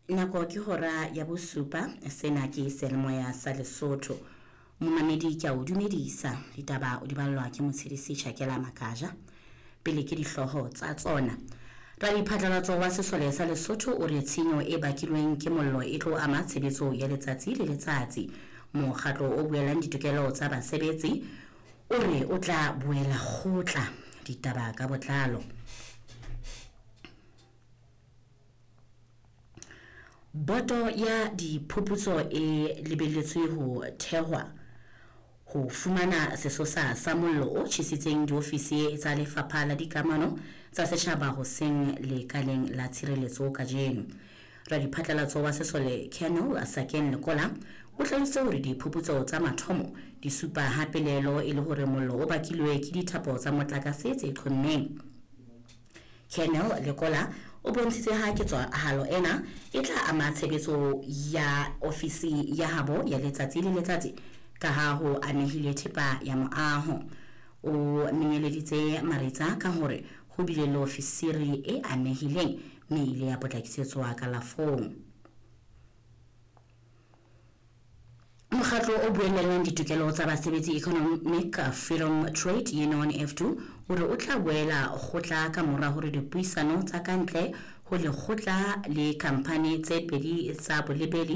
Nako ke hora ya bosupa. Sena ke Seyalemoya sa Lesotho. Momamedi, ke a o dumedisa. Ditaba o di ballwa ke Motshedisi Chakela Makaja. Pele ke dihlooho tsa tsona. Radiphatlalatso wa sesole sa Lesotho o re tshenyo e bakilweng ke mollo e tlo ama tshebetso ya letsatsi le letsatsi. Mokgatlo o buelang ditokelo tsa basebetsi o re o tla boela kgotla. Ditaba ka botlalo. Boto ya diphuputso e lebelletswe ho thehwa ho fumana sesosa sa mollo o tjhesitseng diofisi tsa Lefapha la Dikamano tsa Setjhaba hoseng lekaleng la tshireletso kajeno. Radiphatlalatso wa sesole Colonel Sakeng Lekola o hlalositse hore diphuputso tsa mathomo di supa ha pelaelo e le hore mollo o bakilwe ke dithapo tsa motlakase tse qhommeng. Colonel Lekola o bontshitse ha ketsahalo ena e tla ama tshebetso ya ofisi ya habo ya letsatsi le letsatsi ka ha ho amehile thepa ya moaho. O menyeleditse maritsa ka hore ho bile le ofisiri e amehileng mme ile ya potlakisetswa kalafong. Mokgatlo o buellang ditokelo tsa basebetsi Economic Freedom Trade Union F2 o re o tla boela kgotla ka mora hore dipuisano tsa kantle ho lekgotla le khamphani tse pedi tsa bolebeli.